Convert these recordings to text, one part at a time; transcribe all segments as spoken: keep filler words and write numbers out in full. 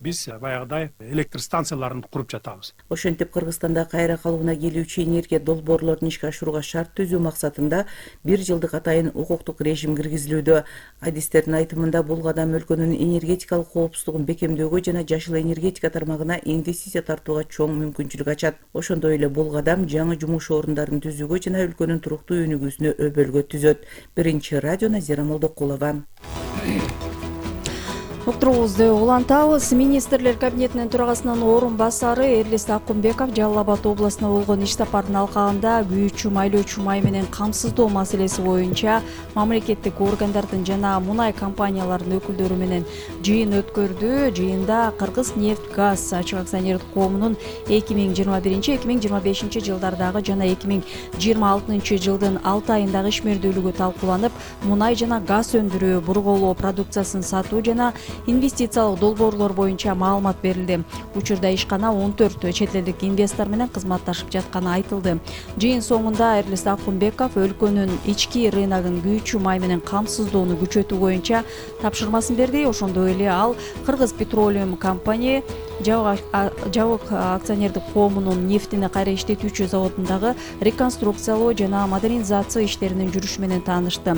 биз баягыдай электр станцияларын куруп жатабыз. Ошентип Кыргызстанда кайра калыбына келүүчү энергия долбоорлорун ишке ашырууга шарт түзүү максатында бир жылдык атайын укуктук режим киргизилүүдө. Адистердин айтымында бул кадам өлкөнүн энергетикалык коопсуздугун бекемдөөгө жана жашыл энергетика тармагына инвестиция тартууга чоң мүмкүнчүлүк ачат. Ошондой эле бул кадам жаңы жумуш орундарын түзүүгө жана өлкөнүн туруктуу өнүгүүсүнө өбөлгө түзөт. Биринчи радио Назира Молдокулова. Уктуруубузду улантабыз. Министрлер кабинетинин төрагасынын орун басары Эрлис Акунбеков Жалал Абад областына болгон иш сапардын алкагында күйүүчү майлоочу май менен камсыздоо маселеси боюнча мамлекеттик органдардын жана мунай компанияларынын өкүлдөрү менен жыйын өткөрдү. Жыйында Кыргыз нефть газ ачык акционердик коомунун эки миң жыйырма биринчи эки миң жыйырма бешинчи жылдардагы жана эки миң жыйырма алтынчы жылдын алты айындагы ишмердүүлүгү талкууланып, мунай жана газ өндүрүү, бурголоо продукциясын сатуу жана инвестициялык долбоорлор боюнча маалымат берилди. Учурда ишкана он төрт чет элдик инвестор менен кызматташып жатканы айтылды. Жыйын соңунда Эрлис Акунбеков өлкөнүн ички рыногун күйүүчү май менен камсыздоону күчөтүү боюнча тапшырмасын берди. Ошондой эле ал Кыргыз Petroleum компания жабык акционердик коомунун нефтини кайра иштетүүчү заводундагы реконструкциялоо жана модернизация иштеринин жүрүшү менен таанышты.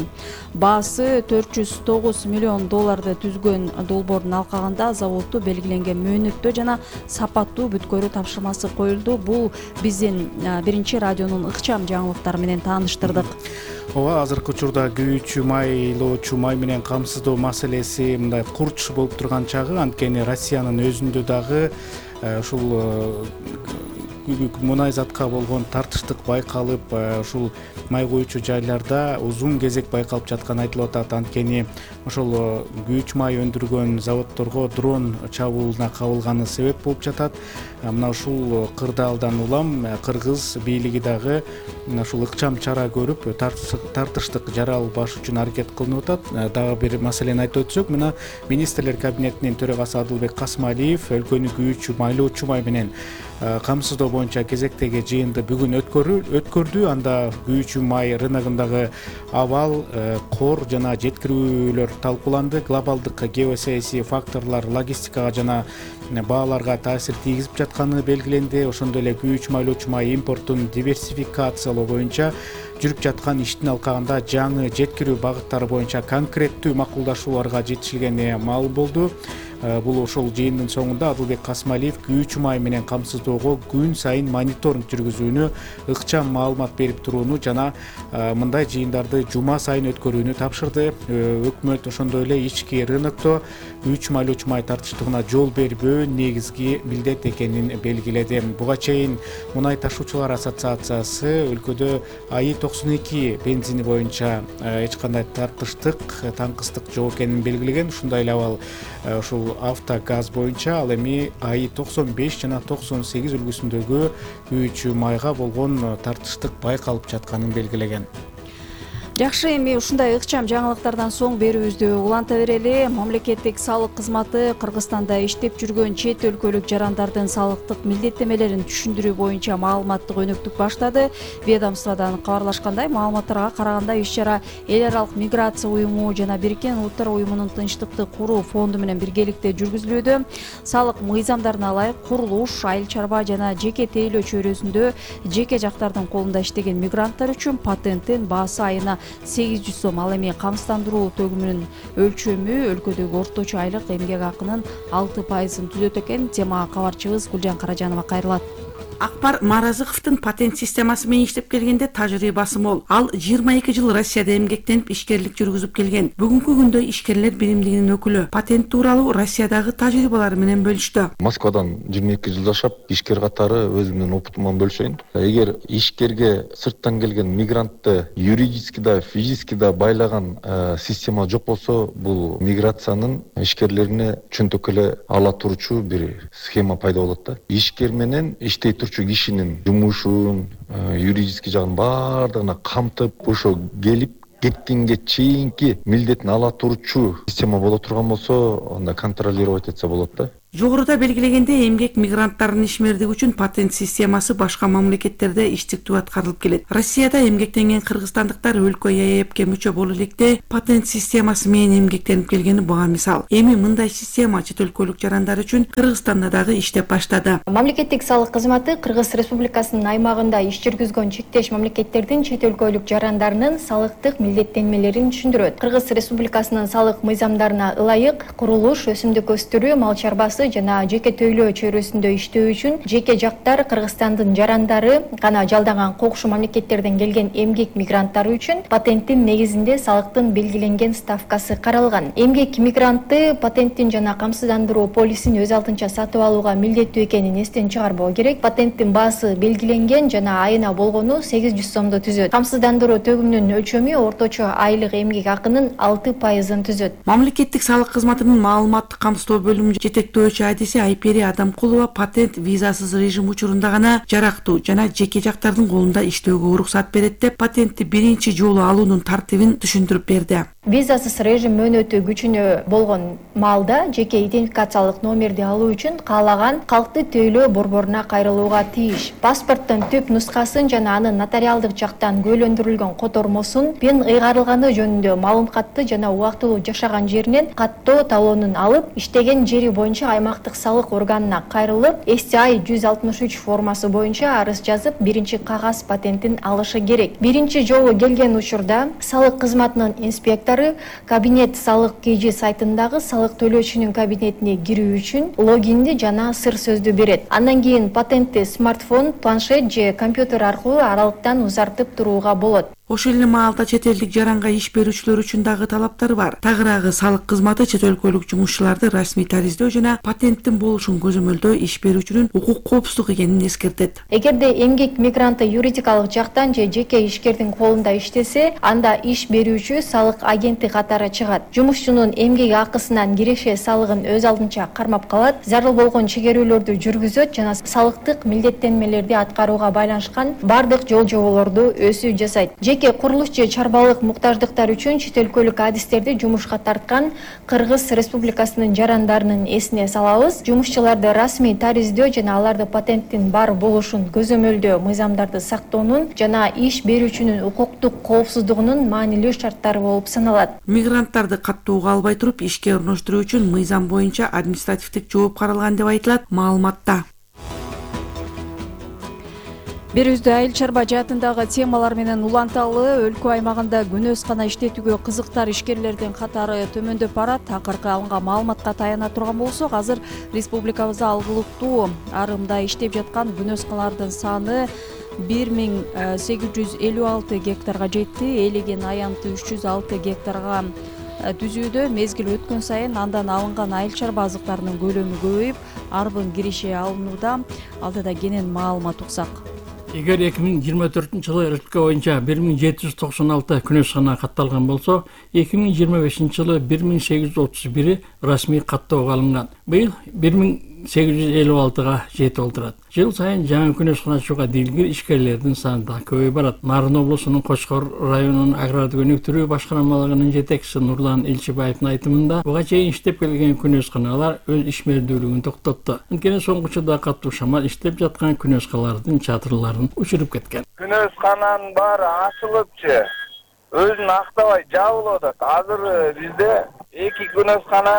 Баасы төрт жүз тогуз миллион долларды түзгөн долбоордун алкагында заводду белгиленген мөөнөттө жана сапаттуу бүткөрүү тапшырмасы коюлду. Бул биздин биринчи радионун ыкчам жаңылыктары менен тааныштырдык. Ооба, азыркы учурда күйүүчү майлоочу май менен камсыздоо маселеси мындай курч болуп турган чагы, анткени Россиянын өзүндө дагы ушул мунай затка болгон тартыштык байкалып, ушул май куючу жайларда узун кезек байкалып жатканы айтылып атат. Анткени ошол күйүүчү май өндүргөн заводдорго дрон чабуулуна кабылганы себеп болуп жатат. Мына ушул кырдаалдан улам Кыргыз бийлиги дагы ушул ыкчам чара көрүп, тартыштык жара албаш үчүн аракет кылынып атат. Дагы бир маселени айтып өтсөк, мына министрлер кабинетинин төрагасы Адылбек Касымалиев өлкөнү күйүүчү майлоочу май менен камсыздоо боюнча кезектеги жыйынды бүгүн өткөрдү. Анда күйүүчү май рыногундагы абал, кор жана жеткирүүлөр талкууланды. Глобалдык геосаясий факторлор логистикага жана бааларга таасир тийгизип жатканы белгиленди. Ошондой эле күйүүчү майлоочу май импортун диверсификациялоо боюнча жүрүп жаткан иштин алкагында жаңы жеткирүү багыттары боюнча конкреттүү макулдашууларга жетишилгени маалым болду. Бул ошол жыйындын соңунда Адылбек Касымалиев күйүүчү май менен камсыздоого күн сайын мониторинг жүргүзүүнү, ыкчам маалымат берип турууну жана мындай жыйындарды жума сайын өткөрүүнү тапшырды. Өкмөт ошондой эле ички рынокто күйүүчү майлоочу май тартыштыгына жол бербөө негизги милдет экенин белгиледи. Буга чейин Мунай ташуучулар ассоциациясы өлкөдө АИ токсон эки бензини боюнча эч кандай тартыштык, таңкыстык жок экенин белгилеген. Ушундай эле абал ушул автогаз боюнча ал эми АИ токсон беш жана токсон сегиз үлгүсүндөгү күйүүчү майга болгон тартыштык байкалып жатканын белгилеген. Жакшы, эми ушундай ыкчам жаңылыктардан соң берүүбүздү уланта берели. Мамлекеттик салык кызматы Кыргызстанда иштеп жүргөн чет өлкөлүк жарандардын салыктык милдеттемелерин түшүндүрүү боюнча маалыматтык өнөктүк баштады. Ведомстводон кабарлашкандай, маалыматтарга караганда иш-чара эл аралык миграция уюму жана Бириккен Улуттар уюмунун тынчтыкты куруу фонду менен биргеликте жүргүзүлүүдө. Салык мыйзамдарына ылайык курулуш, айыл чарба жана жеке тейлөө чөйрөсүндө жеке жактардын колунда иштеген мигранттар үчүн патенттин баасы айына сегиз жүз сом, ал эми камсыздандыруу төгүмүнүн өлчөмү өлкөдөгү орточо айлык эмгек акынын алты пайызын түзөт экен. Темага кабарчыбыз Гүлжан Каражанова кайрылат. Акбар Маразыковдун патент системасы менен иштеп келгенде тажрыйбасы мол. Ал жыйырма эки жыл Россияда эмгектенип ишкерлик жүргүзүп келген. Бүгүнкү күндө ишкерлер биримдигинин өкүлү. Патент тууралуу Россиядагы тажрыйбалары менен бөлүштү. Москвадан жыйырма эки жыл жашап, ишкер катары өзүмдүн опытыман бөлүшөйүн. Эгер ишкерге сырттан келген мигрантты юридически да, физически да байлаган система жок болсо, бул миграциянын ишкерлерине чөнтөк эле ала турчу бир схема пайда болот да. Ишкер менен иштей кишинин жумушун, юридический жагын баардыгына камтып, ошо келип кеткенге чейинки милдетин ала турчу система боло турган болсо, анда контролировать этсе болот да. Жогоруда белгилегендей, эмгек мигранттарынын ишмердиги үчүн патент системасы башка мамлекеттерде иштиктүү аткарылып келет. Россияда эмгектенген кыргызстандыктар өлкө е е эпке мүчө боло электе патент системасы менен эмгектенип келгени буга мисал. Эми мындай система чет өлкөлүк жарандар үчүн Кыргызстанда дагы иштеп баштады. Мамлекеттик салык кызматы Кыргыз Республикасынын аймагында иш жүргүзгөн чектеш мамлекеттердин чет өлкөлүк жарандарынын салыктык милдеттенмелерин түшүндүрөт. Кыргыз Республикасынын салык мыйзамдарына ылайык курулуш, өсүмдүк өстүрүү, мал чарбасы жана жеке тейлөө чөйрөсүндө иштөө үчүн жеке жактар Кыргызстандын жарандары гана жалдаган кокушу мамлекеттерден келген эмгек мигранттары үчүн патенттин негизинде салыктын белгиленген ставкасы каралган. Эмгек мигранты патенттин жана камсыздандыруу полисин өз алдынча сатып алууга милдеттүү экенин эстен чыгарбоо керек. Патенттин баасы белгиленген жана айына болгону сегиз жүз сомду түзөт. Камсыздандыруу төгүмүнүн өлчөмү орточо айлык эмгек акынын алты пайызын түзөт. Мамлекеттик салык кызматынын маалыматтык камсыздоо бөлүмү жетектөөчү адиси Айпери Адамкулова патент визасыз режим учурунда гана жарактуу жана жеке жактардын колунда иштөөгө уруксат берет деп патентти биринчи жолу алуунун тартибин түшүндүрүп берди. Визасыз режим мөөнөтү күчүнө болгон маалда жеке идентификациялык номерди алуу үчүн каалаган калкты тейлөө борборуна кайрылууга тийиш. Паспорттун түп нускасын жана анын нотариалдык жактан күбөлөндүрүлгөн котормосун, пен ыйгарылганы жөнүндө маалым катты жана убактылуу жашаган жеринен каттоо талонун алып, иштеген жери боюнча аймактык салык органына кайрылып, эс ти ай жүз алтымыш үч формасы боюнча арыз жазып, биринчи кагаз патентин алышы керек. Биринчи жолу келген учурда салык кызматынын инспектору кабинет салык кж сайтындагы салык төлөөчүнүн кабинетине кирүү үчүн логинди жана сыр сөздү берет. Андан кийин патентти смартфон, планшет же компьютер аркылуу аралыктан узартып турууга болот. Ошол эле маалда чет элдик жаранга иш берүүчүлөр үчүн дагы талаптар бар. Тагыраагы салык кызматы чет өлкөлүк жумушчуларды расмий тариздөө жана патенттин болушун көзөмөлдөө иш берүүчүнүн укук коопсуздук экенин эскертет. Эгерде эмгек мигранты юридикалык жактан же жеке ишкердин колунда иштесе, анда иш берүүчү салык агенти катары чыгат. Жумушчунун эмгек акысынан киреше салыгын өз алдынча кармап калат, зарыл болгон чегерүүлөрдү жүргүзөт жана салыктык милдеттенмелерди аткарууга байланышкан бардык жол жоболорду өсүү жасайт. Жеке курулуш же чарбалык муктаждыктар үчүн чет өлкөлүк адистерди жумушка тарткан Кыргыз Республикасынын жарандарынын эсине салабыз. Жумушчуларды расмий тариздөө жана аларды патенттин бар болушун көзөмөлдөө мыйзамдарды сактоонун жана иш берүүчүнүн укуктук коопсуздугунун маанилүү шарттары болуп саналат. Мигранттарды каттоого албай туруп ишке орноштуруу үчүн мыйзам боюнча административдик жооп каралган деп айтылат маалыматта. Берүүздө айыл чарба жаатындагы темалар менен уланталы. Өлкө аймагында күнөөскана иштетүүгө кызыктар ишкерлердин катары төмөндөп барат. Акыркы алынган маалыматка таяна турган болсок, азыр республикабызда алгылыктуу арымда иштеп жаткан күнөөскалардын саны бир миң сегиз жүз элүү алты гектарга жетти. Элеген аянты үч жүз алты гектарга түзүүдө. Мезгил өткөн сайын андан алынган айыл чарба азыктарынын көлөмү көбөйүп, арбын киреше алынууда. Алдыда кенен маалымат уксак. Эгер эки миң жыйырма төртүнчү жылы өлкө боюнча бир миң жети жүз токсон алты күнөөскана катталган болсо, эки миң жыйырма бешинчи жылы бир миң сегиз жүз отуз бири расмий каттоого алынган. Быйыл бир миң сегиз жүз элүү алтыга жетип олтурат. Жыл сайын жаңы күнөөскана ачууга дилгир ишкерлердин саны да көбөйүп барат. Нарын облусунун Кочкор районунун агрардык өнүктүрүү башкармалыгынын жетекчиси Нурлан Илчибаевдин айтымында, буга чейин иштеп келген күнөөсканалар өз ишмердүүлүгүн токтотту. Анткени соңку учурда катуу шамал иштеп жаткан күнөөскалардын чатырларын учуруп кеткен. Күнөөскананын баары ачылыпчы, өзүн актабай жабылып атат. Азыр бизде эки күнөөскана,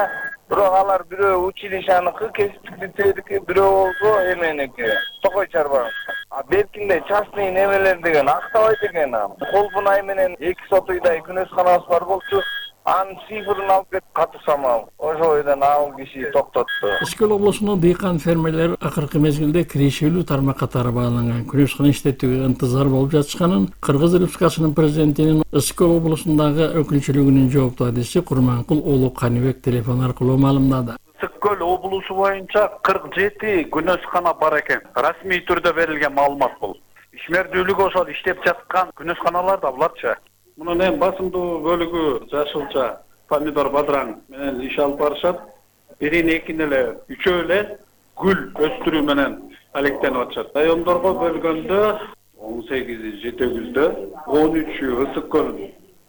бирок алар бирөө училищаныкы, кесиптик лицейдики, бирөө болсо эменики, токой чарбаныкы. А беркинде частный немелер деген актабайт экен. Колбунай менен эки сотуйдай күнөөсканабыз бар болчу. Анын цифрын алып кетип катуу самал. Ошол бойдон ал киши токтотту. Ысыкөл облусунун дыйкан фермерлери акыркы мезгилде кирешелүү тармак катары бааланган күнөөскана иштетүүгө ынтызар болуп жатышканын Кыргыз Республикасынын президентинин Ысыкөл облусундагы өкүлчүлүгүнүн жооптуу адиси Курманкул Уулу Каныбек телефон аркылуу маалымдады. Ысыкөл облусу боюнча кырк жети күнөөскана бар экен. Расмий түрдө берилген маалымат бул. Ишмердүүлүгү ошол иштеп жаткан күнөөсканалар да буларчы. Мунун эң басымдуу бөлүгү жашылча, помидор, бадыраң менен иш алып барышат. Бирин экини эле, үчөө эле гүл өстүрүү менен алектенип атышат. Райондорго бөлгөндө он сегизи Жетегүздө, он үчү Ысыккөл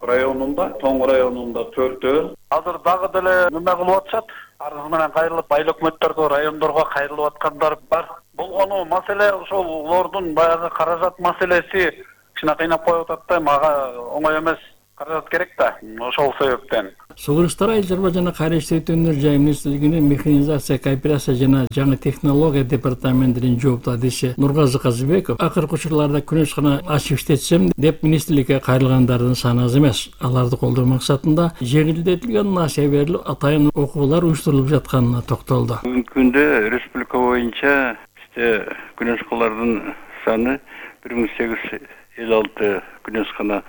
районунда, Тоң районунда төртөө. Азыр дагы деле неме кылып атышат. Арыз менен кайрылып, айыл өкмөттөргө, райондорго кайрылып аткандар бар. Болгону маселе ошол улардын баягы каражат маселеси кичине кыйнап коюп атат да, мага оңой эмес. Каражат керек да, ошол себептен. Согуштар айыл чарба жана кайра иштетүүнүн жай министрлигинин механизация, кооперация жана жаңы технология департаментинин жооптуу адиси Нургазы Казыбеков акыркы учурларда күнөшкана ачып иштетсем деп министрликке кайрылгандардын саны аз эмес. Аларды колдоо максатында жеңилдетилген насыя берилип, атайын окуулар уюштурулуп жатканына токтолду. Бүгүнкү күндө республика боюнча бизде күнөшкалардын саны бир миң сегиз жүз элүү алты күнөшкана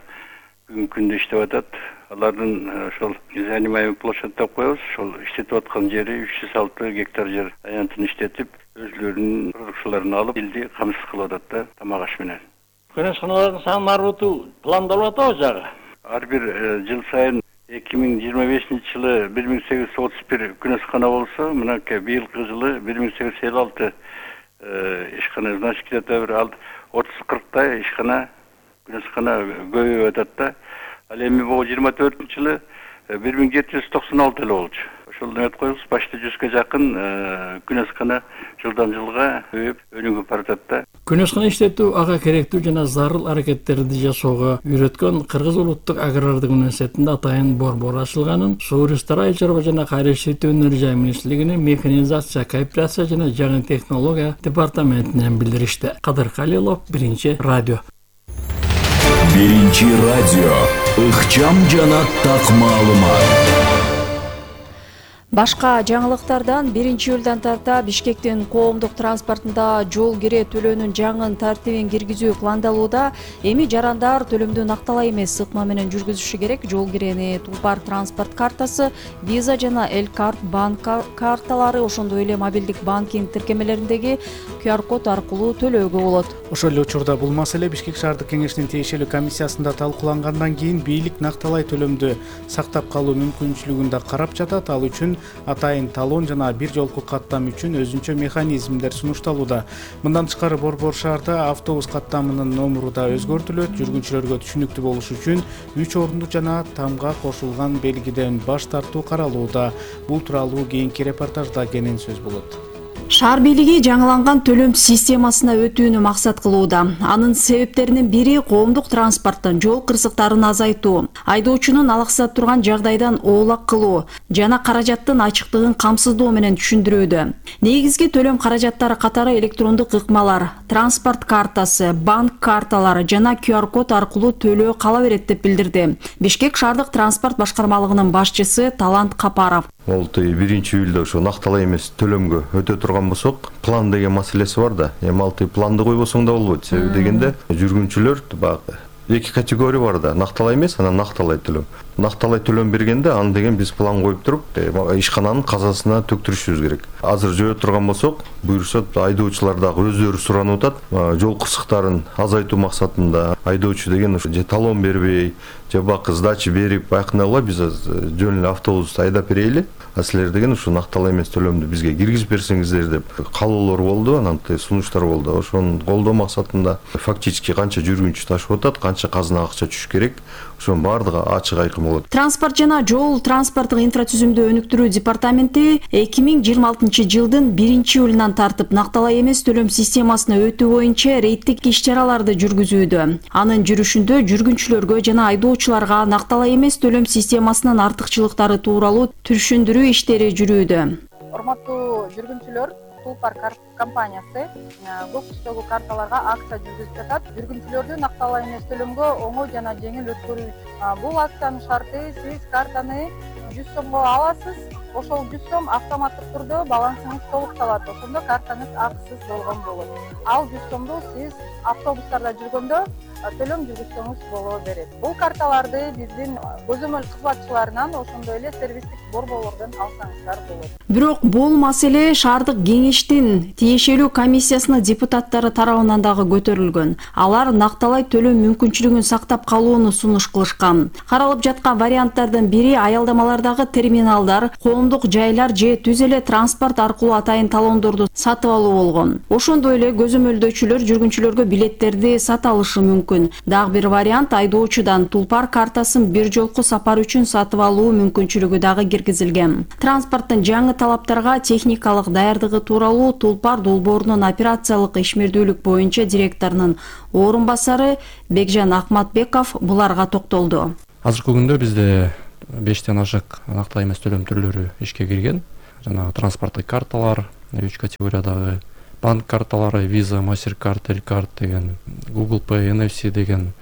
бүгүнкү күндө иштеп атат. Алардын ошол занимаемый площадь деп коебуз. Ошол иштетип аткан жери үч жүз алты гектар жер аянтын иштетип, өзлөрүнүн продукцияларын алып, элди камсыз кылып атат да, тамак аш менен. Күнөшканалардын санын арттыруу пландалып атабы жагы? Ар бир жыл сайын эки миң жыйырма бешинчи жылы бир миң сегиз жүз отуз бир күнөшкана болсо, мынакей быйылкы жылы бир миң сегиз жүз элүү алты ишкана, значит, где-то бир отуз кырктай ишкана күнөшкана көбөйүп атат да. Ал эми бул жыйырма төртүнчү жылы бир миң жети жүз токсон алты эле болчу. Ошол эме коебуз, почти жүзгө жакын күнөшкана жылдан жылга көбөйүп өнүгүп баратат да. Күнөшкана иштетүү ага керектүү жана зарыл аракеттерди жасоого үйрөткөн Кыргыз улуттук агрардык университетинде атайын борбор ачылганын Согуштар айыл чарба жана кайра иштетүүнүн жай министрлигинин механизация, кооперация жана жаңы технология департаментинен билдиришти. Кадыр Калилов, Биринчи радио. Биринчи радио. Ыкчам жана так маалымат. Башка жаңылыктардан биринчи июлдан тарта Бишкектин коомдук транспортунда жол кире төлөөнүн жаңы тартибин киргизүү пландалууда. Эми жарандар төлөмдү накталай эмес ыкма менен жүргүзүшү керек. Жол кирени Тулпар транспорт картасы, Виза жана Элкарт банк карталары, ошондой эле мобилдик банкинг тиркемелериндеги ку ар код аркылуу төлөөгө болот. Ошол эле учурда бул маселе Бишкек шаардык кеңешинин тиешелүү комиссиясында талкуулангандан кийин бийлик накталай төлөмдү сактап калуу мүмкүнчүлүгүн да карап жатат. Ал үчүн атайын талон жана бир жолку каттам үчүн өзүнчө механизмдер сунушталууда. Мындан тышкары борбор шаарда автобус каттамынын номуру да өзгөртүлөт. Жүргүнчүлөргө түшүнүктүү болуш үчүн үч орунду жана тамга кошулган белгиден баш тартуу каралууда. Бул тууралуу кийинки репортажда кенен сөз болот. Шаар бийлиги жаңыланган төлөм системасына өтүүнү максат кылууда. Анын себептеринин бири коомдук транспорттун жол кырсыктарын азайтуу, айдоочунун алаксат турган жагдайдан оолак кылуу жана каражаттын ачыктыгын камсыздоо менен түшүндүрүүдө. Негизги төлөм каражаттары катары электрондук ыкмалар, транспорт картасы, банк карталары жана ку ар код аркылуу төлөө кала берет деп билдирди Бишкек шаардык транспорт башкармалыгынын башчысы Талант Капаров. Ол биринчи июлда ошо накталай эмес төлөмгө өтө турган болсок, план деген маселеси бар да. Эми алты планды койбосоң да болбойт. Себеби дегенде жүргүнчүлөр баягы эки категория бар да. Накталай эмес, анан накталай төлөм. Накталай төлөм бергенде аны деген биз план коюп туруп, ишкананын казасына төктүрүшүбүз керек. Азыр жөө турган болсок, буюрса айдоочулар дагы өздөрү суранып атат. Жол кырсыктарын азайтуу максатында айдоочу деген же талон бербей, же бакы сдача берип, байкынагыла биз жөн эле автобусту айдап берели. А силер деген ушу накталай эмес төлөмдү бизге киргизип берсеңиздер деп каалоолор болду, анан сунуштар болду. Ошону колдоо максатында фактически канча жүргүнчү ташып атат, канча казына акча түшүш керек, ошонун баардыгы ачык айкын болот. Транспорт жана жол транспорттук инфратүзүмдү өнүктүрүү департаменти эки миң жыйырма алтынчы жылдын биринчи июлунан тартып накталай эмес төлөм системасына өтүү боюнча рейдтик иш-чараларды жүргүзүүдө. Анын жүрүшүндө жүргүнчүлөргө жана айдоочуларга накталай эмес төлөм системасынын артыкчылыктары тууралуу түшүндүрүү иштери жүрүүдө. Урматтуу жүргүнчүлөр, Тулпар компаниясы көк түстөгү карталарга акция жүргүзүп жатат. Жүргүнчүлөрдү накталай эмес төлөмгө оңой жана жеңил өткөрүү. Бул акциянын шарты сиз картаны жүз сомго аласыз. Ошол жүз сом автоматтык түрдө балансыңыз толукталат. Ошондо картаңыз акысыз болгон болот. Ал жүз сомду сиз автобустарда жүргөндө төлөм жүргүзсөңүз боло берет. Бул карталарды биздин көзөмөл кызматчыларынан, ошондой эле сервистик борборлордон алсаңыздар болот. Бирок бул маселе шаардык кеңештин тиешелүү комиссиясынын депутаттары тарабынан дагы көтөрүлгөн. Алар накталай төлөм мүмкүнчүлүгүн сактап калууну сунуш кылышкан. Каралып жаткан варианттардын бири аялдамалардагы терминалдар, коомдук жайлар же түз эле транспорт аркылуу атайын талондорду сатып алуу болгон. Ошондой эле көзөмөлдөчүлөр жүргүнчүлөргө билеттерди сата алышы мүмкүн. мүмкүн. Дагы бир вариант айдоочудан тулпар картасын бир жолку сапар үчүн сатып алуу мүмкүнчүлүгү дагы киргизилген. Транспорттун жаңы талаптарга техникалык даярдыгы тууралуу Тулпар долбоорунун операциялык ишмердүүлүк боюнча директорунун орун басары Бекжан Акматбеков буларга токтолду. Азыркы күндө бизде бештен ашык нактылуу эмес төлөм түрлөрү ишке кирген. Жана транспорттук карталар, үч категориядагы банк карталары, Visa, MasterCard, Elcard деген, Google Pay, эн эф си деген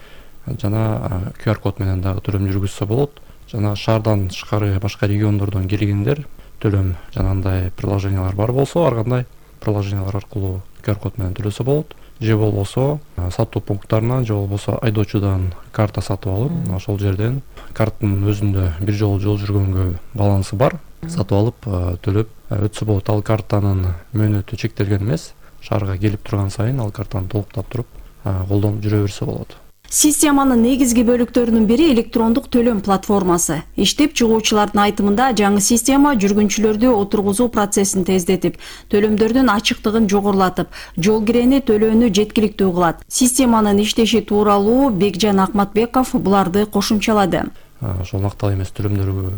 жана ку ар код менен дагы төлөм жүргүзсө болот. Жана шаардан тышкары башка региондордон келгендер төлөм жанагындай приложениялар бар болсо, ар кандай приложениялар аркылуу ку ар код менен төлөсө болот. Же болбосо сатуу пункттарынан, же болбосо айдоочудан карта сатып алып, ошол жерден карттын өзүндө бир жолу жол жүргөнгө балансы бар, сатып алып төлөп өтсө болот. Ал картанын мөөнөтү чектелген эмес. Шаарга келип турган сайын ал картаны толуктап туруп колдонуп жүрө берсе болот. Системанын негизги бөлүктөрүнүн бири электрондук төлөм платформасы. Иштеп чыгуучулардын айтымында жаңы система жүргүнчүлөрдү отургузуу процессин тездетип, төлөмдөрдүн ачыктыгын жогорулатып, жол кирени төлөөнү жеткиликтүү кылат. Системанын иштеши тууралуу Бекжан Акматбеков буларды кошумчалады. Ошол нактылуу эмес төлөмдөргө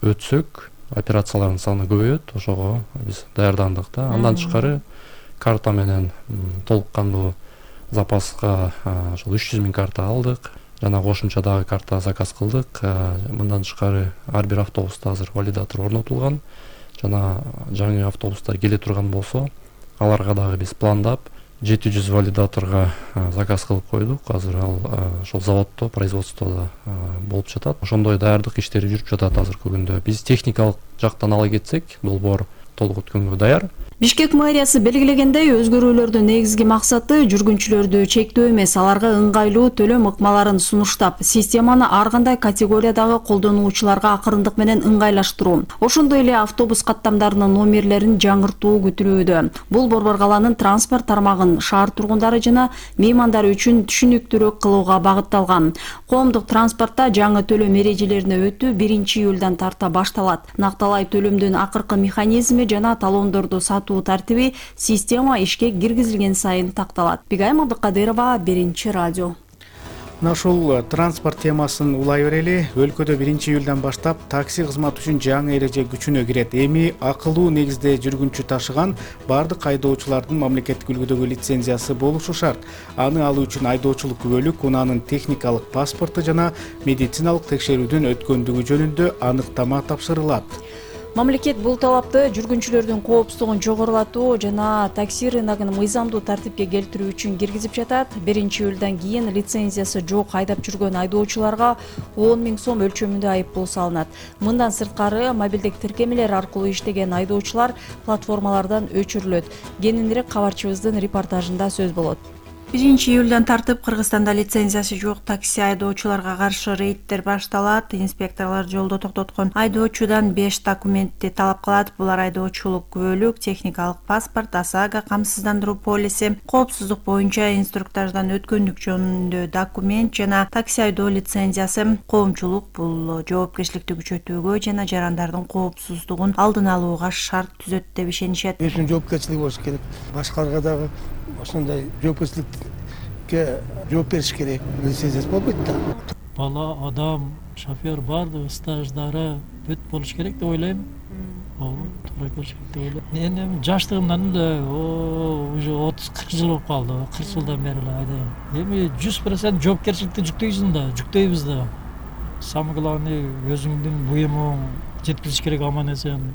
өтсөк, операциялардын саны көбөйөт, ошого биз даярдандык да. Андан тышкары карта менен толук кандуу запаска ошол үч жүз миң карта алдык. Жана кошумча дагы карта заказ кылдык. Мындан тышкары ар бир автобуста азыр валидатор орнотулган. Жана жаңы автобустар келе турган болсо, аларга дагы биз пландап жети жүз валидаторго заказ кылып койдук. Азыр ал ошол заводдо, производстводо болуп жатат. Ошондой даярдык иштери жүрүп жатат азыркы күндө. Биз техникалык жактан ала кетсек, долбоор толук өткөнгө даяр. Бишкек мэриясы белгилегендей, өзгөрүүлөрдүн негизги максаты жүргүнчүлөрдү чектөө эмес, аларга ыңгайлуу төлөм ыкмаларын сунуштап, системаны ар кандай категориядагы колдонуучуларга акырындык менен ыңгайлаштыруу. Ошондой эле автобус каттамдарынын номерлерин жаңыртуу күтүлүүдө. Бул Борбор каланын транспорт тармагын шаар тургундары жана меймандары үчүн түшүнүктүүрөөк кылууга багытталган. Коомдук транспортто жаңы төлөм эрежелерине өтүү биринчи июлдан тарта башталат. Накталай төлөмдүн акыркы механизми жана талондорду сатуу тартиби система ишке киргизилген сайын такталат. Бигайым Абдыкадырова, Биринчи радио. Мына ушул транспорт темасын улай берели. Өлкөдө биринчи июлдан баштап такси кызматы үчүн жаңы эреже күчүнө кирет. Эми акылуу негизде жүргүнчү ташыган бардык айдоочулардын мамлекеттик үлгүдөгү лицензиясы болушу шарт. Аны алуу үчүн айдоочулук күбөлүк, унаанын техникалык паспорту жана медициналык текшерүүдөн өткөндүгү жөнүндө аныктама тапшырылат. Мамлекет бул талапты жүргүнчүлөрдүн коопсуздугун жогорулатуу жана такси рыногун мыйзамдуу тартипке келтирүү үчүн киргизип жатат. биринчи июлдан кийин лицензиясы жок айдап жүргөн айдоочуларга он миң сом өлчөмүндө айыппул салынат. Мындан сырткары мобилдик тиркемелер аркылуу иштеген айдоочулар платформалардан өчүрүлөт. Кененирээк кабарчыбыздын репортажында сөз болот. биринчи июлдан тартып Кыргызстанда лицензиясы жок такси айдоочуларга каршы рейдтер башталат. Инспекторлор жолдо токтоткон айдоочудан беш документти талап кылат. Булар айдоочулук күбөлүк, техникалык паспорт, ОСАГО камсыздандыруу полиси, коопсуздук боюнча инструктаждан өткөндүк жөнүндө документ жана такси айдоо лицензиясы. Коомчулук бул жоопкерчиликти күчөтүүгө жана жарандардын коопсуздугун алдын алууга шарт түзөт деп ишенишет. Өзүнүн жоопкерчилиги болуш керек. Башкаларга дагы ошондой жоопкерчиликке жооп бериш керек. Лицензиясы болбойт да. Бала, адам, шофер баардыгы стаждары бүт болуш керек деп ойлойм. Ооба, туура келиш керек деп ойлойм. Мен эми жаштыгымдан эле уже отуз кырк жыл болуп калды. кырк жылдан бери эле айдайм. Эми жүз процент жоопкерчиликти жүктөйсүң да, жүктөйбүз да. Самое главное, өзүңдүн буюмуң жеткизиш керек аман эсен.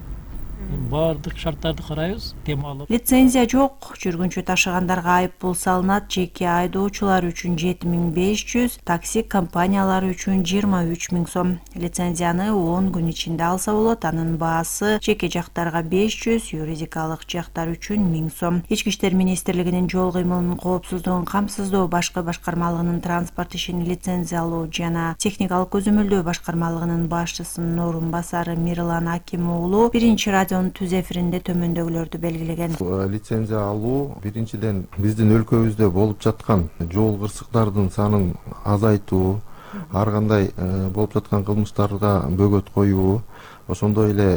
Бардык шарттарды карайбыз, темалып. Лицензия жок, жүргүнчү ташыгандарга айыппул салынат. Жеке айдоочулар үчүн жети миң беш жүз, такси компаниялары үчүн жыйырма үч миң сом. Лицензияны он күн ичинде алса болот. Анын баасы жеке жактарга беш жүз, юридикалык жактар үчүн миң сом. Ички иштер министрлигинин жол кыймылынын коопсуздугун камсыздоо башкы башкармалыгынын транспорт ишин лицензиялоо жана техникалык көзөмөлдөө башкармалыгынын башчысынын орун басары Мирлан Аким уулу биринчи радио түз эфиринде төмөндөгүлөрдү белгилеген. Лицензия алуу биринчиден биздин өлкөбүздө болуп жаткан жол кырсыктардын санын азайтуу, ар кандай болуп жаткан кылмыштарга бөгөт коюу, ошондой эле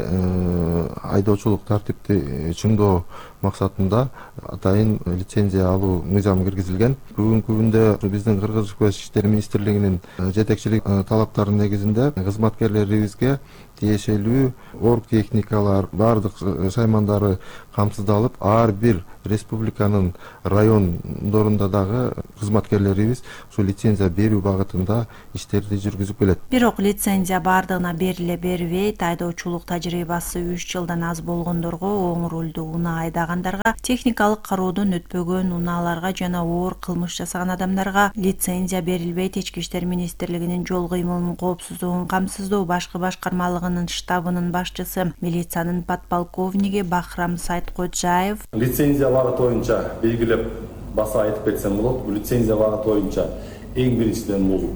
айдоочулук тартипти чыңдоо максатында атайын лицензия алуу мыйзамы киргизилген. Бүгүнкү күндө биздин Кыргыз Ички иштер министрлигинин жетекчилик талаптарынын негизинде кызматкерлерибизге тиешелүү орг техникалар баардык шаймандары камсыздалып, ар бир республиканын райондорунда дагы кызматкерлерибиз ушул лицензия берүү багытында иштерди жүргүзүп келет. Бирок лицензия бардыгына бериле бербейт. Айдоочулук тажрыйбасы үч жылдан аз болгондорго, оң рулдуу унаа айдагандарга, техникалык кароодон өтпөгөн унааларга жана оор кылмыш жасаган адамдарга лицензия берилбейт. Ички иштер министрлигинин жол кыймылынын коопсуздугун камсыздоо башкы башкармалыгынын штабынын башчысы, милициянын подполковниги Бахрам Сайткожаев: лицензия багыты боюнча белгилеп баса айтып кетсем болот. Бул лицензия багыты боюнча эң биринчиден бул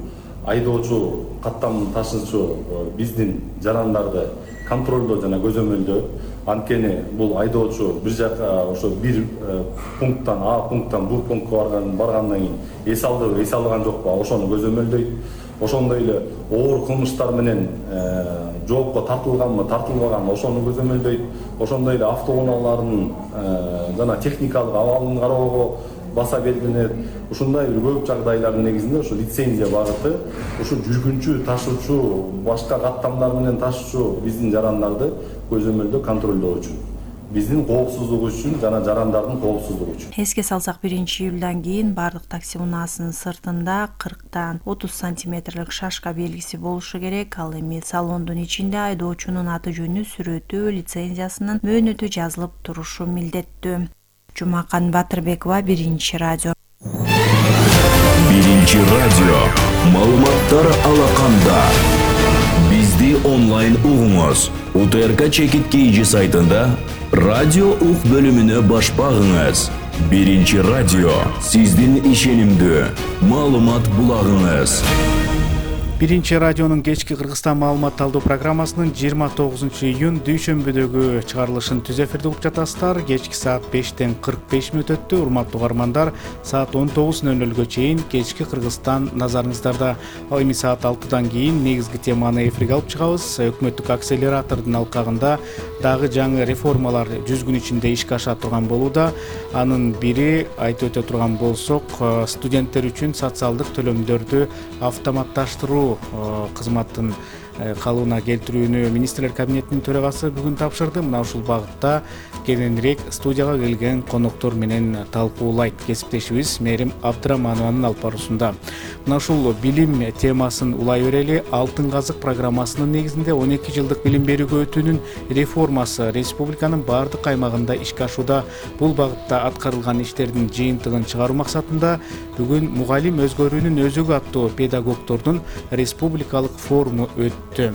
айдоочу каттамын ташуучу биздин жарандарды контролдоо жана көзөмөлдөө. Анткени бул айдоочу бир жака ошо бир пункттан А пункттан Б пунктка барган баргандан кийин эс алдыбы, эс алган жокпу, ошону көзөмөлдөйт. Ошондой эле оор кылмыштар менен жоопко тартылганбы, тартылбаганбы, ошону көзөмөлдөйт. Ошондой эле автоунаалардын жана техникалык абалын кароого баса белгиленет. Ушундай бир көп жагдайлардын негизинде ушу лицензия багыты ушу жүргүнчү, ташуучу, башка каттамдар менен ташуучу биздин жарандарды көзөмөлдөө, контролдоо үчүн, биздин коопсуздугу үчүн жана жарандардын коопсуздугу үчүн. Эске салсак, биринчи июлдан кийин бардык такси унаасынын сыртында кырктан отуз сантиметрлик шашка белгиси болушу керек. Ал эми салондун ичинде айдоочунун аты жөнү, сүрөтү, лицензиясынын мөөнөтү жазылып турушу милдеттүү. Жумакан Батырбекова, Биринчи радио. Биринчи радио. Маалыматтар алаканда. Бизди онлайн угуңуз. УТРК Чекит КЖ сайтында радио ук бөлүмүнө баш багыңыз. Биринчи радио. Сиздин ишенимдүү маалымат булагыңыз. Биринчи радионун кечки Кыргызстан маалымат алуу программасынын жыйырма тогузунчу июнь дүйшөмбүдөгү чыгарылышын түз эфирде угуп жатасыздар. Кечки саат бештен кырк беш мүнөт өттү. Урматтуу угармандар, саат он тогуз ноль нөлгө чейин кечки Кыргызстан назарыңыздарда. Ал эми саат алтыдан кийин негизги теманы эфирге алып чыгабыз. Өкмөттүк акселератордун алкагында дагы жаңы реформалар жүз күн ичинде ишке аша турган болууда. Анын бири айтып өтө турган болсок, студенттер үчүн социалдык төлөмдөрдү автоматташтыруу кызматтын калыбына келтирүүнү министрлер кабинетинин төрагасы бүгүн тапшырды. Мына ушул багытта кененирээк студияга келген коноктор менен талкуулайт кесиптешибиз Мерим Абдыраманованын алып баруусунда. Мына ушул билим темасын улай берели. Алтын казык программасынын негизинде он эки жылдык билим берүүгө өтүүнүн реформасы республиканын бардык аймагында ишке ашууда. Бул багытта аткарылган иштердин жыйынтыгын чыгаруу максатында бүгүн мугалим өзгөрүүнүн өзөгү аттуу педагогдордун республикалык форуму өттү.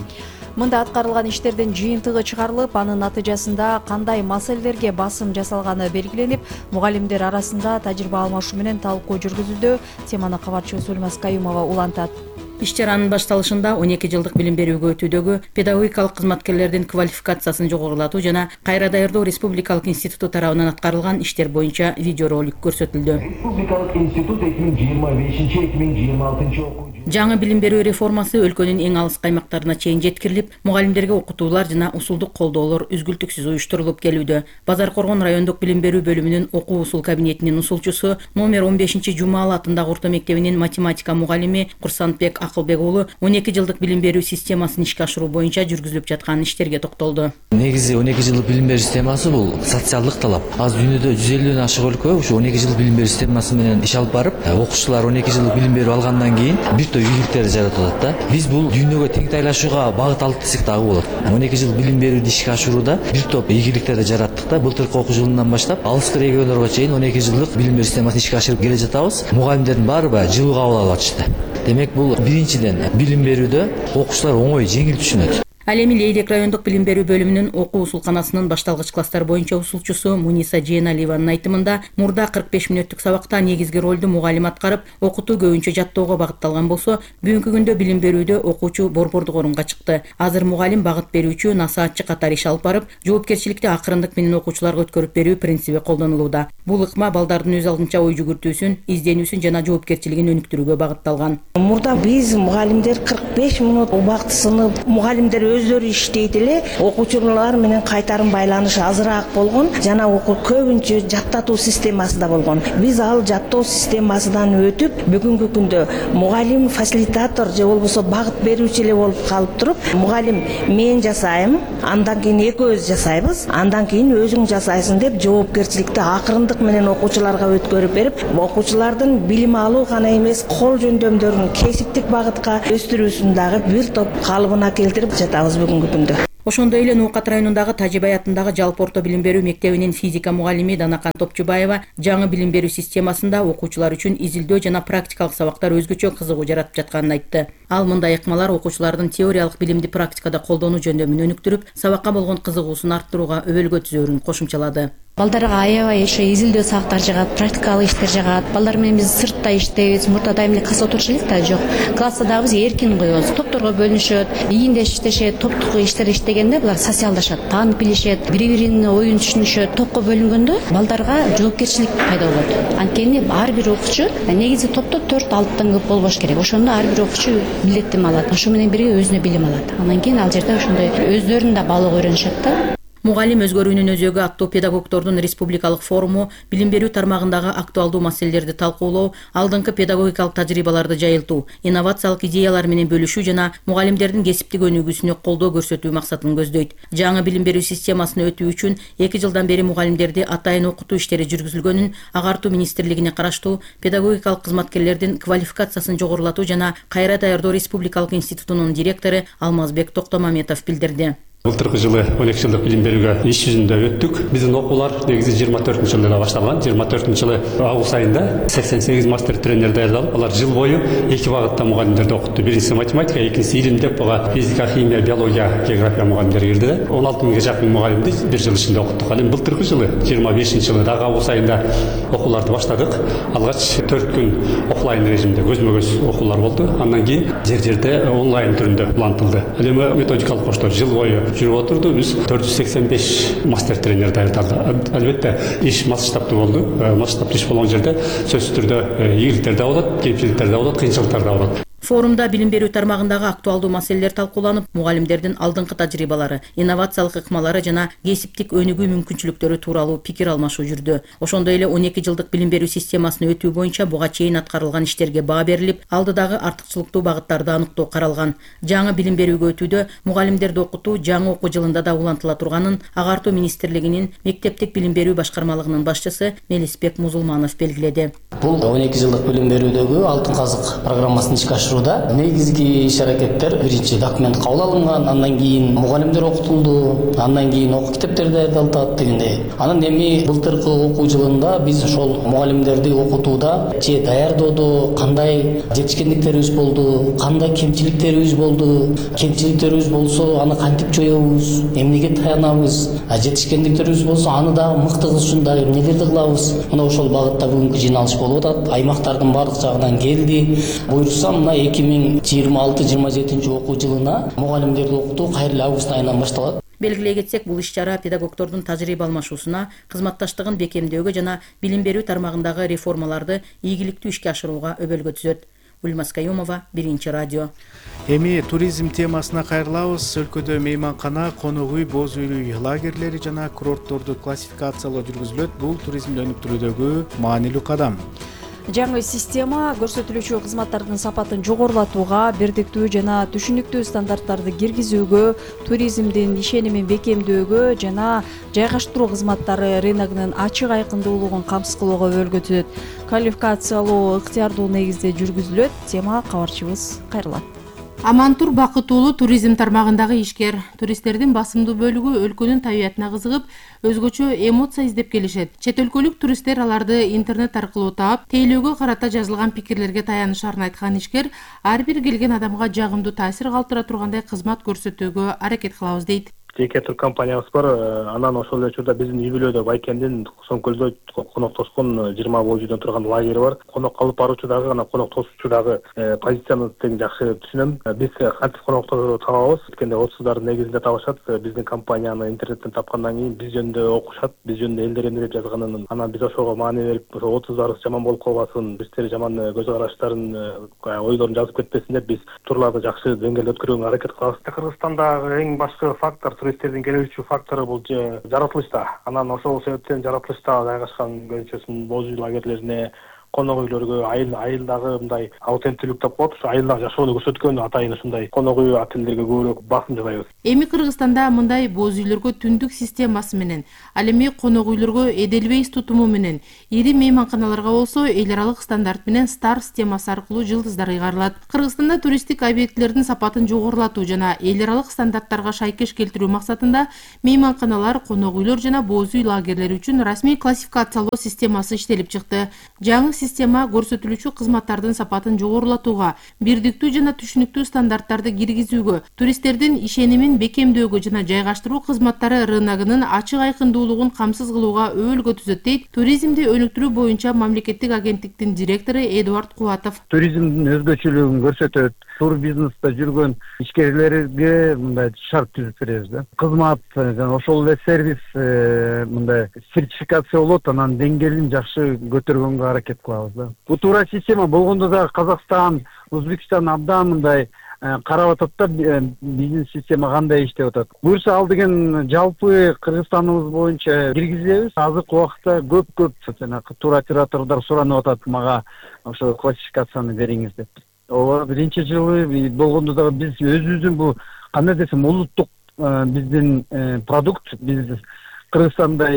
Мында аткарылган иштердин жыйынтыгы чыгарылып, анын натыйжасында кандай маселелерге басым жасалганы белгиленип, мугалимдер арасында тажрыйба алмашуу менен талкуу жүргүзүлдү. Теманы кабарчыбыз Өлмас Каюмова улантат. Иш-чаранын башталышында он эки жылдык билим берүүгө өтүүдөгү педагогикалык кызматкерлердин квалификациясын жогорулатуу жана кайра даярдоо республикалык институту тарабынан аткарылган иштер боюнча видеоролик көрсөтүлдү. Республикалык институт эки миң жыйырма бешинчи эки миң жыйырма алтынчы окуу жаңы билим берүү реформасы өлкөнүн эң алыс каймактарына чейин жеткирилип, мугалимдерге окутуулар жана усулдук колдоолор үзгүлтүксүз уюштурулуп келүүдө. Базар Коргон райондук билим берүү бөлүмүнүн окуу усул кабинетинин усулчусу, номер он бешинчи Жумаал атындагы орто мектебинин математика мугалими Курсантбек Акылбек уулу он эки жылдык билим берүү системасын ишке ашыруу боюнча жүргүзүлүп жаткан иштерге токтолду. Негизи он эки жылдык билим берүү системасы бул социалдык талап. Азыр дүйнөдө жүз элүүдөн ашык өлкө ушу он эки жылдык билим берүү системасы менен иш алып барып, окуучулар он эки жылдык билим берүү алгандан кийин бир топ ийгиликтерди жаратып атат да. Биз бул дүйнөгө теңтайлашууга багыт алдык десек дагы болот. он эки жыл билим берүүдө ишке ашырууда бир топ ийгиликтерди жараттык да. Былтыркы окуу жылынан баштап алыскы региондорго чейин он эки жылдык билим берүү системасын ишке ашырып келе жатабыз. Мугалимдердин баары жылуу кабыл алып атышты. Демек бул биринчиден билим берүүдө окуучулар оңой, жеңил түшүнөт. Ал эми Лейдек райондук билим берүү бөлүмүнүн окуу усулканасынын башталгыч класстар боюнча усулчусу Муниса Жээналиеванын айтымында, мурда кырк беш мүнөттүк сабакта негизги ролду мугалим аткарып, окутуу көбүнчө жаттоого багытталган болсо, бүгүнкү күндө билим берүүдө окуучу борбордук орунга чыкты. Азыр мугалим багыт берүүчү, насаатчы катары иш алып барып, жоопкерчиликти акырындык менен окуучуларга өткөрүп берүү принциби колдонулууда. Бул ыкма балдардын өз алдынча ой жүгүртүүсүн, изденүүсүн жана жоопкерчилигин өнүктүрүүгө багытталган. Мурда биз мугалимдер кырк беш мүнөт убактысыны мугалимдер өздөрү иштейт эле, окуучулар менен кайтарым байланышы азыраак болгон, жана көбүнчө жаттатуу системасы да болгон. Биз ал жаттоо системасынан өтүп, бүгүнкү күндө мугалим фасилитатор же болбосо багыт берүүчү эле болуп калып туруп, мугалим мен жасайм, андан кийин экөөбүз жасайбыз, андан кийин өзүң жасайсың деп жоопкерчиликти акырындык менен окуучуларга өткөрүп берип, окуучулардын билим алуу гана эмес, кол жөндөмдөрүн кесиптик багытка өстүрүүсүн дагы бир топ калыбына келтирип жатабыз бүгүнкү күндө. Ошондой эле Ноокат районундагы Тажибай атындагы жалпы орто билим берүү мектебинин физика мугалими Данакан Топчубаева жаңы билим берүү системасында окуучулар үчүн изилдөө жана практикалык сабактар өзгөчө кызыгуу жаратып жатканын айтты. Ал мындай ыкмалар окуучулардын теориялык билимди практикада колдонуу жөндөмүн өнүктүрүп, сабакка болгон кызыгуусун арттырууга өбөлгө түзөөрүн кошумчалады. Балдарга аябай ошо изилдөө сабактар жагат, практикалык иштер жагат. Балдар менен биз сыртта иштейбиз, мурда дайым эле класста отуруш элек да жок. Класста дагы биз эркин коебуз. Топторго бөлүнүшөт, ийиндеш иштешет, топтук иштер иштегенде булар социалдашат, таанып билишет, бири-биринин оюн түшүнүшөт. Топко бөлүнгөндө балдарга жоопкерчилик пайда болот. Анткени ар бир окуучу негизи топто төрт алтыдан көп болбош керек. Ошондо ар бир окуучу билетин алат. Ошо менен бирге өзүнө билим алат. Андан кийин ал жерде ошондой өздөрүн да балык өйрөнүшөт да. Мугалим өзгөрүүнүн өзөгү аттуу педагогдордун республикалык форуму билим берүү тармагындагы актуалдуу маселелерди талкуулоо, алдыңкы педагогикалык тажрыйбаларды жайылтуу, инновациялык идеялар менен бөлүшүү жана мугалимдердин кесиптик өнүгүүсүнө колдоо көрсөтүү максатын көздөйт. Жаңы билим берүү системасына өтүү үчүн эки жылдан бери мугалимдерди атайын окутуу иштери жүргүзүлгөнүн Агартуу министрлигине караштуу педагогикалык кызматкерлердин квалификациясын жогорулатуу жана кайра даярдоо республикалык институтунун директору Алмазбек Токтомаметов билдирди. Былтыркы жылы он эки жылдык билим берүүгө иш жүзүндө өттүк. Биздин окуулар негизи жыйырма төртүнчү жылы эле башталган. жыйырма төртүнчү жылы август айында сексен сегиз мастер тренер даярдалып, алар жыл бою эки багытта мугалимдерди окутту. Биринчиси математика, экинчиси илим деп, буга физика, химия, биология, география мугалимдери кирди да. он алты миңге жакын мугалимди бир жыл ичинде окуттук. Ал эми былтыркы жылы жыйырма бешинчи жылы дагы август айында окууларды баштадык. Алгач төрт күн офлайн режимде көзмө-көз окуулар болду. Андан кийин жер-жерде онлайн түрүндө улантылды. Ал эми методикалык коштор жыл бою жүрүп отурду. Биз төрт жүз сексен беш мастер тренер даярдалды. Албетте иш масштабтуу болду. Масштабтуу иш болгон жерде сөзсүз түрдө ийгиликтер да болот, кемчиликтер да болот, кыйынчылыктар да болот. Форумда билим берүү тармагындагы актуалдуу маселелер талкууланып, мугалимдердин алдыңкы тажрыйбалары, инновациялык ыкмалары жана кесиптик өнүгүү мүмкүнчүлүктөрү тууралуу пикир алмашуу жүрдү. Ошондой эле он эки жылдык билим берүү системасына өтүү боюнча буга чейин аткарылган иштерге баа берилип, алдыдагы артыкчылыктуу багыттарды аныктоо каралган. Жаңы билим берүүгө өтүүдө мугалимдерди окутуу жаңы окуу жылында да улантыла турганын Агартуу министрлигинин мектептик билим берүү башкармалыгынын башчысы Мелисбек Музулманов белгиледи. Бул он эки жылдык билим берүүдөгү алтын казык программасын ишке ашырууда негизги иш аракеттер биринчи документ кабыл алынган, андан кийин мугалимдер окутулду, андан кийин окуу китептер даярдалат дегендей. Анан эми былтыркы окуу жылында биз ошол мугалимдерди окутууда же даярдоодо кандай жетишкендиктерибиз болду, кандай кемчиликтерибиз болду, кемчиликтерибиз болсо аны кантип жоебуз, эмнеге таянабыз, жетишкендиктерибиз болсо аны дагы мыктыгыз үчүн дагы эмнелерди кылабыз. Мына ошол багытта бүгүнкү жыйналыш болуп атат. Аймактардын баардык жагынан келди. Буюрса мына эки миң жыйырма алты жыйырма жетинчи окуу жылына мугалимдерди окутуу кайра эле август айынан башталат. Белгилей кетсек, бул иш-чара педагогдордун тажрыйба алмашуусуна, кызматташтыгын бекемдөөгө жана билим берүү тармагындагы реформаларды ийгиликтүү ишке ашырууга өбөлгө түзөт. Ульмас Каюмова, Биринчи радио. Эми туризм темасына кайрылабыз. Өлкөдө мейманкана, конок үй, боз үй лагерлери жана курортторду классификациялоо жүргүзүлөт. Бул туризмди өнүктүрүүдөгү маанилүү кадам. Жаңы система көрсөтүлүүчү кызматтардын сапатын жогорулатууга, бирдиктүү жана түшүнүктүү стандарттарды киргизүүгө, туризмдин ишенимин бекемдөөгө жана жайгаштыруу кызматтары рыногунун ачык айкындуулугун камсыз кылууга өбөлгө түзөт. Квалификациялоо ыктыярдуу негизде жүргүзүлөт. Тема кабарчыбыз кайрылат. Амантур Бакытуулу туризм тармагындагы ишкер. Туристтердин басымдуу бөлүгү өлкөнүн табиятына кызыгып, өзгөчө эмоция издеп келишет. Чет өлкөлүк туристтер аларды интернет аркылуу таап, тейлөөгө карата жазылган пикирлерге таянышарын айткан ишкер ар бир келген адамга жагымдуу таасир калтыра тургандай кызмат көрсөтүүгө аракет кылабыз дейт. жеке туркомпаниябыз бар. Анан ошол эле учурда биздин үй бүлөдө Байкендин Сомкөлдө коноктошкон жыйырма боюжудан турган лагери бар. Конок калып баруучу дагы, анан конок тосуучу дагы позицияны тең жакшы түшүнөм. Биз кантип конокту табабыз? Эткенде отуздардын негизинде табышат. Биздин компанияны интернеттен тапкандан кийин биз жөнүндө окушат, биз жөнүндө элдер эмне деп жазганын. Анан биз ошого маани берип, ошо отуздарыбыз жаман болуп калбасын, биздер жаман көз караштарын, ойлорун жазып кетпесин деп биз турларды жакшы деңгээлде өткөрүүгө аракет кылабыз. Кыргызстандагы эң башкы фактор, туристтердин келүүчү фактору бул жаратылышта. Анан ошол себептен жаратылышта жайгашкан көбүнчөсүн боз үй лагерлерине, конок үйлөргө айыл айылдагы мындай аутенттүүлүк деп коет, ошо айылдагы жашоону көрсөткөн атайын ушундай конок үй отелдерге көбүрөөк басым жасайбыз. Эми Кыргызстанда мындай боз үйлөргө түндүк системасы менен, ал эми конок үйлөргө Эделвейс тутуму менен, ири мейманканаларга болсо эл аралык стандарт менен Стар системасы аркылуу жылдыздар ыйгарылат. Кыргызстанда туристтик объектилердин сапатын жогорулатуу жана эл аралык стандарттарга шайкеш келтирүү максатында мейманканалар, конок үйлөр жана боз үй лагерлери үчүн расмий классификациялоо системасы иштелип чыкты. Жаңы система көрсөтүлүүчү кызматтардын сапатын жогорулатууга, бирдиктүү жана түшүнүктүү стандарттарды киргизүүгө, туристтердин ишенимин бекемдөөгө жана жайгаштыруу кызматтары рыногунун ачык айкындуулугун камсыз кылууга өбөлгө түзөт дейт туризмди өнүктүрүү боюнча мамлекеттик агенттиктин директору Эдуард Кубатов. Туризмдин өзгөчөлүгүн көрсөтөт. Тур бизнеста жүргөн ишкерлерге мындай шарт түзүп беребиз да. Кызмат жана ошол эле сервис мындай сертификация болот, анан деңгээлин жакшы көтөргөнгө аракет кылабыз да. Бул туура система болгондо да Казакстан, Өзбекстан абдан мындай карап атат да, биздин система кандай иштеп атат. Буюрса ал деген жалпы Кыргызстаныбыз боюнча киргизебиз. Азыркы убакытта көп-көп жанагы туроператордор суранып атат, мага ошо классификацияны бериңиз деп. Ооба, биринчи жылы болгондо дагы биз өзүбүздүн бул кандай десем улуттук биздин продукт, биз Кыргызстанда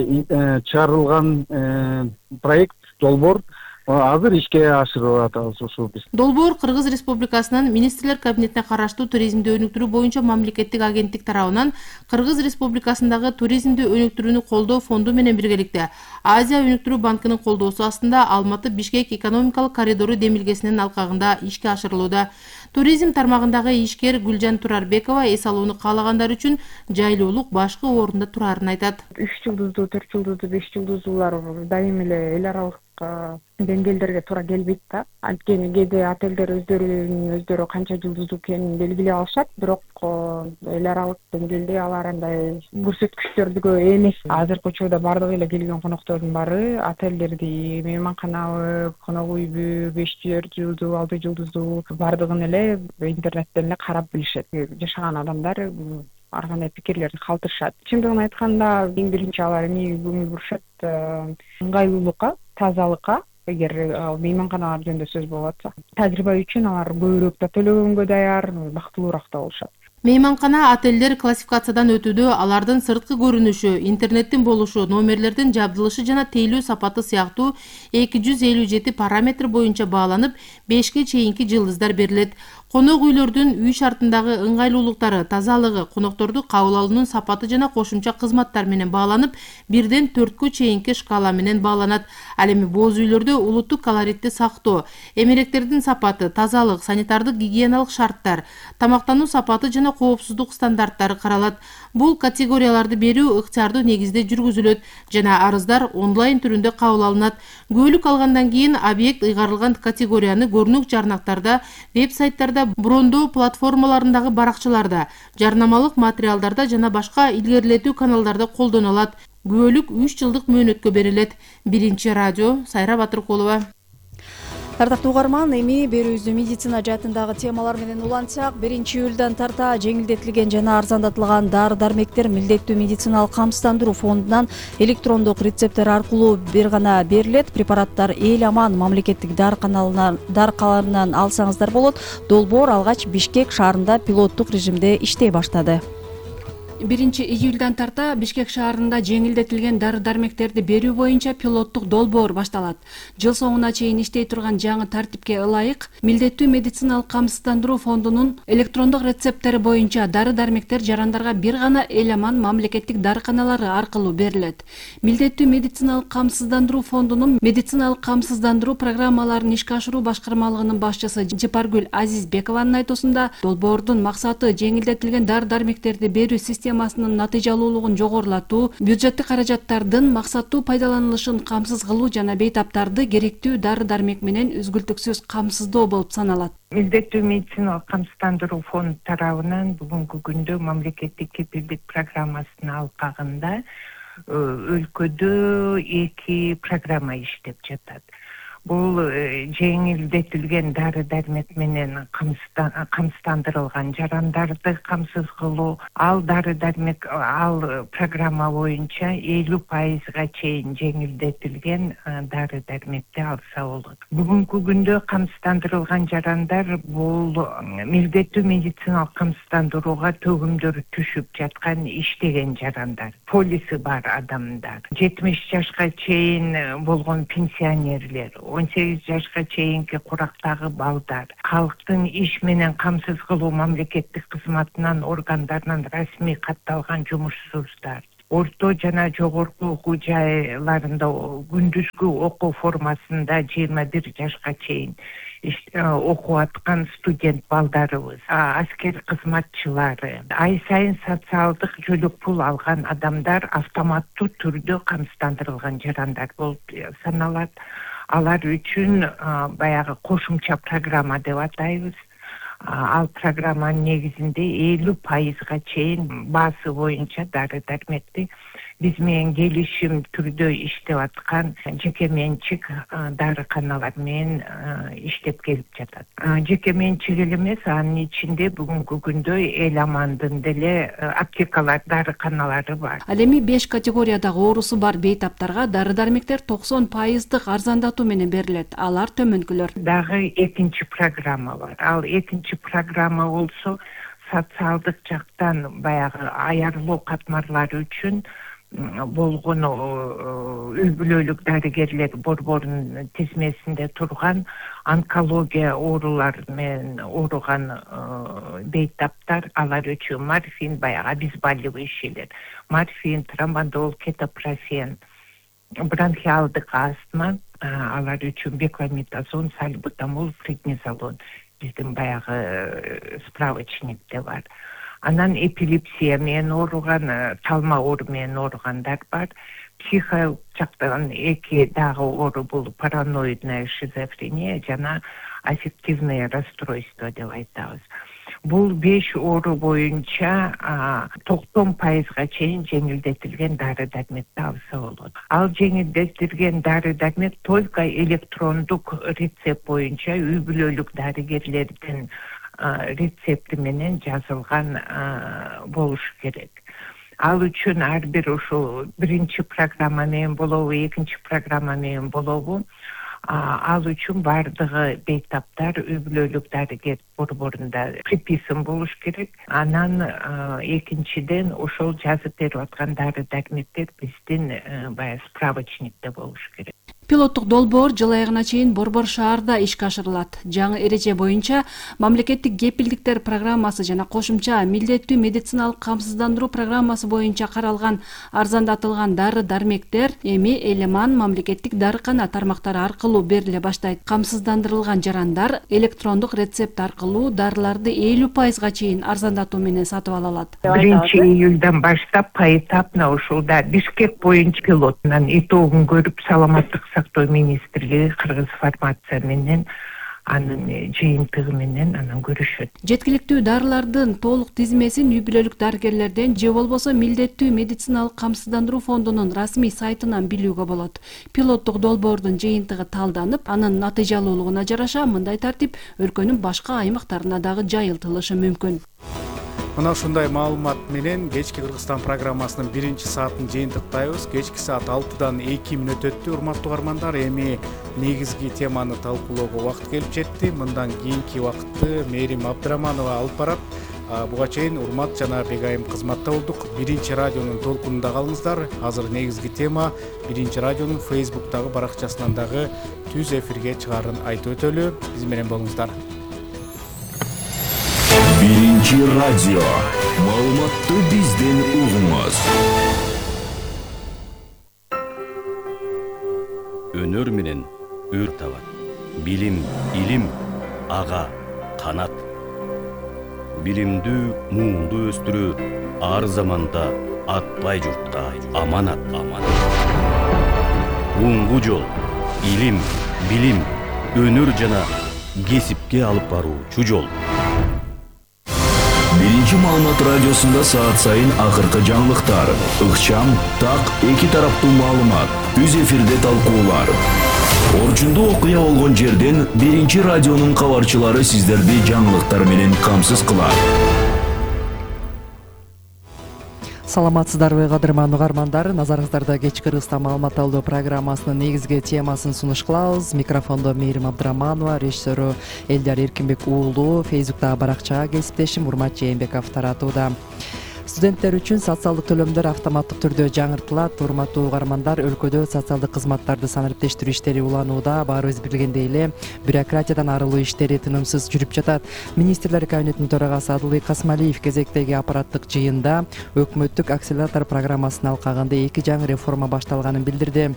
чыгарылган проект долбоор азыр ишке ашырып атабыз ушул биз. Долбоор Кыргыз Республикасынын Министрлер кабинетине караштуу туризмди өнүктүрүү боюнча мамлекеттик агенттик тарабынан Кыргыз Республикасындагы туризмди өнүктүрүүнү колдоо фонду менен биргеликте Азия өнүктүрүү банкынын колдоосу астында Алматы-Бишкек экономикалык коридору демилгесинин алкагында ишке ашырылууда. Туризм тармагындагы ишкер Гүлжан Турарбекова эс алууну каалагандар үчүн жайлуулук башкы орунда турарын айтат. үч жылдыздуу, төрт жылдыздуу, беш жылдыздуулар дайым эле эл аралык деңгээлдерге туура келбейт да. Анткени кээде отелдер өздөрүнүн өздөрү канча жылдыздуу экенин белгилей алышат, бирок эл аралык деңгээлде алар андай көрсөткүчтөргө эмес. Азыркы учурда бардыгы эле келген коноктордун баары отелдерди, мейманканабы, конок үйбү, беш төрт жылдуу, алты жылдыздуу бардыгын эле интернеттен эле карап билишет. Жашаган адамдар ар кандай пикирлерди калтырышат. Чындыгын айтканда, эң биринчи алар эмнеге көңүл бурушат? Ыңгайлуулукка, тазалыкка. Эгер мейманканалар жөнүндө сөз болуп атса, тажрыйба үчүн алар көбүрөөк да төлөгөнгө даяр, бактылуураак да болушат. Мейманкана, отелдер классификациядан өтүүдө алардын сырткы көрүнүшү, интернеттин болушу, номерлердин жабдылышы жана тейлөө сапаты сыяктуу эки жүз элүү жети параметр боюнча бааланып, бешке чейинки жылдыздар берилет. Конок үйлөрдүн үй шартындагы ыңгайлуулуктары, тазалыгы, конокторду кабыл алуунун сапаты жана кошумча кызматтар менен бааланып, бирден төрткө чейинки шкала менен бааланат. Ал эми боз үйлөрдө улуттук колоритти сактоо, эмеректердин сапаты, тазалык, санитардык гигиеналык шарттар, тамактануу сапаты жана коопсуздук стандарттары каралат. Бул категорияларды берүү ыктыярдуу негизде жүргүзүлөт жана арыздар онлайн түрүндө кабыл алынат. Күбөлүк алгандан кийин объект ыйгарылган категорияны көрүнүк жарнактарда, веб-сайттарда, брондоо платформаларындагы баракчаларда, жарнамалык материалдарда жана башка илгерилетүү каналдарда колдоно алат. Күбөлүк үч жылдык мөөнөткө берилет. Биринчи радио, Сайра Батыркулова. Ардактуу угарман, эми берүүбүздү медицина жаатындагы темалар менен улантсак, биринчи июлдан тарта жеңилдетилген жана арзандатылган дары-дармектер милдеттүү медициналык камсыздандыруу фондунан электрондук рецепттер аркылуу бир гана берилет. Препараттар эл аман мамлекеттик дарыканалынан дарыканаларынан алсаңыздар болот. Долбоор алгач Бишкек шаарында пилоттук режимде иштей баштады. биринчи июлдан тарта Бишкек шаарында жеңилдетилген дары-дармектерди берүү боюнча пилоттук долбоор башталат. Жыл соңуна чейин иштей турган жаңы тартипке ылайык милдеттүү медициналык камсыздандыруу фондунун электрондук рецепттери боюнча дары-дармектер жарандарга бир гана эл аман мамлекеттик дарыканалары аркылуу берилет. Милдеттүү медициналык камсыздандыруу фондунун медициналык камсыздандыруу программаларын ишке ашыруу башкармалыгынын башчысы Жапаргүл Азизбекованын айтуусунда, долбоордун максаты жеңилдетилген дары-дармектерди берүү системасы системасынын натыйжалуулугун жогорулатуу, бюджеттик каражаттардын максаттуу пайдаланылышын камсыз кылуу жана бейтаптарды керектүү дары-дармек менен үзгүлтүксүз камсыздоо болуп саналат. Милдеттүү медициналык камсыздандыруу фонду тарабынан бүгүнкү күндө мамлекеттик кепилдик программасынын алкагында өлкөдө эки программа иштеп жатат. Бул жеңилдетилген дары-дармек менен камсыздандырылган жарандарды камсыз кылуу. Ал дары-дармек ал программа боюнча элүү пайызга чейин жеңилдетилген дары-дармекти алса болот. Бүгүнкү күндө камсыздандырылган жарандар бул милдеттүү медициналык камсыздандырууга төгүмдөр түшүп жаткан иштеген жарандар, полиси бар адамдар, жетимиш жашка чейин болгон пенсионерлер, он сегиз жашка чейинки курактагы балдар, калктын иш менен камсыз кылуу мамлекеттик кызматынан органдарынан расмий катталган жумушсуздар, орто жана жогорку окуу жайларында күндүзгү окуу формасында жыйырма бир жашка чейин окуп аткан студент балдарыбыз, аскер кызматчылары, ай сайын социалдык жөлөк пул алган адамдар автоматтуу түрдө камсыздандырылган жарандар болуп саналат. Алар үчүн баягы кошумча программа деп атайбыз. Ал программанын негизинде элүү пайызга чейин баасы боюнча дары-дармекти биз менен келишим түрдө иштеп аткан жеке менчик дарыканалар менен иштеп келип жатат. Жеке менчик эле эмес, анын ичинде бүгүнкү күндө эл амандын деле аптекалар, дарыканалары бар. Ал эми беш категориядагы оорусу бар бейтаптарга дары-дармектер токсон пайыздык арзандатуу менен берилет. Алар төмөнкүлөр. Дагы экинчи программа бар. Ал экинчи программа болсо социалдык жактан баягы аярлоо катмарлары үчүн болгон үй бүлөлүк дарыгерлер борборунун тизмесинде турган онкология оорулары менен ооруган бейтаптар, алар үчүн морфин, баягы обезболивающий ишелер, морфин, трамадол, кетопрофен, бронхиалдык астма, алар үчүн бекламитазон, сальбутамол, преднизолон биздин баягы справочникте бар. Анан эпилепсия менен ооруган, талма оору менен ооругандар бар. Психо жактан эки дагы оору бул параноидная шизофрения жана аффективное расстройство деп айтабыз. Бул беш оору боюнча токсон пайызга чейин жеңилдетилген дары-дармекти алса болот. Ал жеңилдетилген дары-дармек только электрондук рецепт боюнча үй бүлөлүк дарыгерлердин рецепти менен жазылган болуш керек. Ал үчүн ар бир ушул биринчи программа менен болобу, экинчи программа менен болобу, ал үчүн бардыгы бейтаптар үй бүлөлүк дарыгер борборунда приписан болуш керек. Анан экинчиден ошол жазып берип аткан дары-дармектер биздин баягы справочникте болуш керек. Пилоттук долбоор жыл айыгына чейин Борбор шаарда ишке ашырылат. Жаңы эреже боюнча мамлекеттик кепилдиктер программасы жана кошумча милдеттүү медициналык камсыздандыруу программасы боюнча каралган арзандатылган дары-дармектер эми Элеман мамлекеттик дарыкана тармактары аркылуу бериле баштайт. Камсыздандырылган жарандар электрондук рецепт аркылуу дарыларды элүү пайызга чейин арзандатуу менен сатып ала алат. биринчи июлдан баштап поэтапно ушулда Бишкек боюнча пилотунан итогун көрүп саламаттык сактоо министрлиги кыргыз фармация менен анын жыйынтыгы менен анан көрүшөт. Жеткиликтүү дарылардын толук тизмесин үй бүлөлүк дарыгерлерден же болбосо милдеттүү медициналык камсыздандыруу фондунун расмий сайтынан билүүгө болот. Пилоттук долбоордун жыйынтыгы талданып, анын натыйжалуулугуна жараша мындай тартип өлкөнүн башка аймактарына дагы жайылтылышы мүмкүн. Мына ушундай маалымат менен кечки Кыргызстан программасынын биринчи саатын жыйынтыктайбыз. Кечки саат алтыдан эки мүнөт өттү. Урматтуу угармандар, эми негизги теманы талкуулоого убакыт келип жетти. Мындан кийинки убакытты Мээрим Абдыраманова алып барат. Буга чейин урмат жана бегайым кызматта болдук. Биринчи радионун толкунунда калыңыздар. Азыр негизги тема Биринчи радионун Фейсбуктагы баракчасынан дагы түз эфирге чыгаарын айтып өтөлү. Биз менен болуңуздар. Биринчи радио. Маалыматты бизден угуңуз. Өнөр менен өр табат. Билим, илим, ага, канат. Билимдүү муунду өстүрүү, ар заманда атпай журтта аманат аманат. Уңгу жол, илим, билим, өнөр жана кесипке алып баруучу жол. Биринчи маалымат радиосунда саат сайын акыркы жаңылыктар, ыкчам, так, эки тараптуу маалымат, үз эфирде талкуулар. Орчундуу окуя болгон жерден биринчи радионун кабарчылары сиздерди жаңылыктар менен камсыз кылат. Саламатсыздарбы кадырман угармандар, назарыңыздарда кечки ырыста маалымат алуу программасынын негизги темасын сунуш кылабыз. Микрофондо Мээрим Абдыраманова, режиссеру Элдар Эркинбек уулу, Фейсбуктагы баракчага кесиптешим Урмат Жээнбеков таратууда. Студенттер үчүн социалдык төлөмдөр автоматтык түрдө жаңыртылат. Урматтуу угармандар, өлкөдө социалдык кызматтарды санариптештирүү иштери уланууда. Баарыбыз билгендей эле, бюрократиядан арылуу иштери тынымсыз жүрүп жатат. Министрлер кабинетинин төрагасы Адылбек Касмалиев кезектеги аппараттык жыйында өкмөттүк акселератор программасынын алкагында эки жаңы реформа башталганын билдирди.